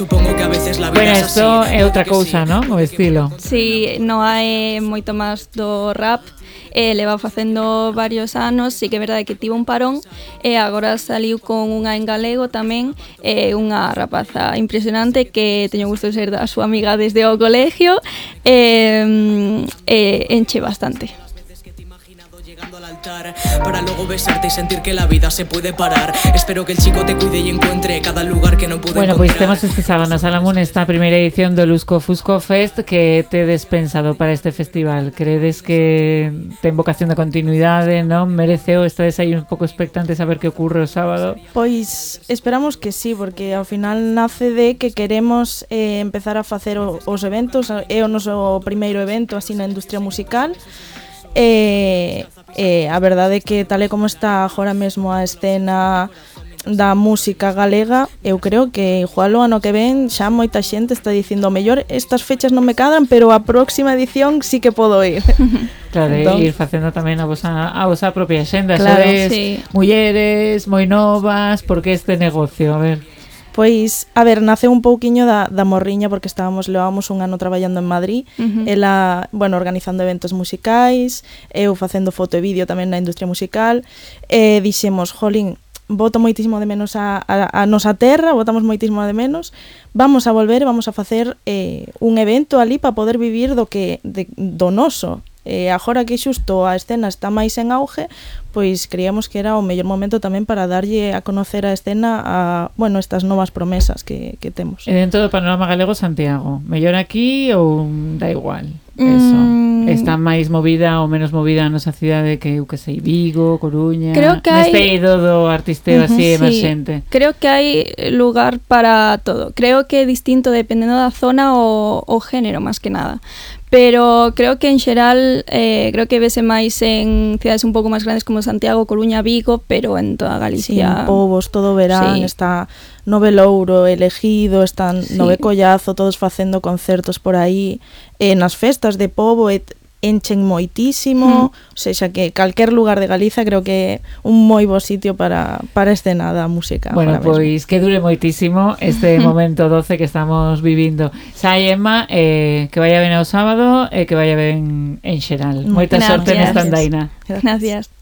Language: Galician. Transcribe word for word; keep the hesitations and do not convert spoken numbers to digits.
Supongo que a veces la vida Bueno, es esto así, é outra que cousa, sí, non? O estilo. Si, no hai moito máis do rap, eh, leva facendo varios anos, sí que é verdade que tivo un parón e agora saliu con unha en galego tamén, eh, unha rapaza impresionante que teño gusto de ser a súa amiga desde o colegio, e eh, eh, enche bastante. Al altar, para luego besarte y sentir que la vida se puede parar. Espero que el chico te cuide y encuentre cada lugar que no pude bueno, encontrar. Bueno, pois temos este sábado na Sala Mun esta primeira edición do Lusco Fusco Fest. Que tedes pensado para este festival? Credes que ten vocación de continuidade, non? Mereceu? Estades aí un pouco expectantes a ver que ocurre o sábado? Pois esperamos que sí, porque ao final nace de que queremos eh, empezar a facer o, os eventos. É o noso primeiro evento así na industria musical. E, e a verdade é que tal e como está agora mesmo a escena da música galega, eu creo que igual o ano que ven xa moita xente está dicindo o mellor estas fechas non me cadran, pero a próxima edición sí que podo ir. Claro, Entón, ir facendo tamén a vosa, a vosa propia xenda. Claro, Sodes sí. mulleres moi novas, porque este negocio, a ver... Pois, a ver, nace un pouquiño da, da morriña porque estábamos, levábamos un ano traballando en Madrid, Uh-huh. ela, bueno, organizando eventos musicais, eu facendo foto e vídeo tamén na industria musical, e dixemos, jolín, boto moitísimo de menos a, a, a nosa terra, botamos moitísimo de menos, vamos a volver, vamos a facer eh, un evento ali para poder vivir do que de, do noso. E agora que xusto a escena está máis en auge, pois creíamos que era o mellor momento tamén para darlle a conocer a escena a, bueno, estas novas promesas que, que temos. E dentro do panorama galego, Santiago, mellor aquí ou da igual? Eso. Mm. Está máis movida ou menos movida a nosa cidade que, eu que sei, Vigo, Coruña, Creo que hai... neste eido do artisteo así Sí, emerxente. creo que hai lugar para todo. Creo que é distinto dependendo da zona o, o género, máis que nada. Pero creo que en xeral eh, creo que vese máis en cidades un pouco máis grandes como Santiago, Coruña, Vigo, pero en toda Sí, Galicia. en Pobos, todo verán, Sí. está Nove Louro, Elegido, están Sí. Nove Collazo, todos facendo concertos por aí, e nas festas de Pobo e enchen moitísimo, Mm. o sexa que calquer lugar de Galiza creo que é un moi bo sitio para, para a escena da música. Bueno, agora mesmo. pois que dure moitísimo este momento doce que estamos vivindo. Sai, Emma, eh, que vaya ben ao sábado e que vaya ben en xeral. Moita Gracias. sorte nesta andaina. Gracias.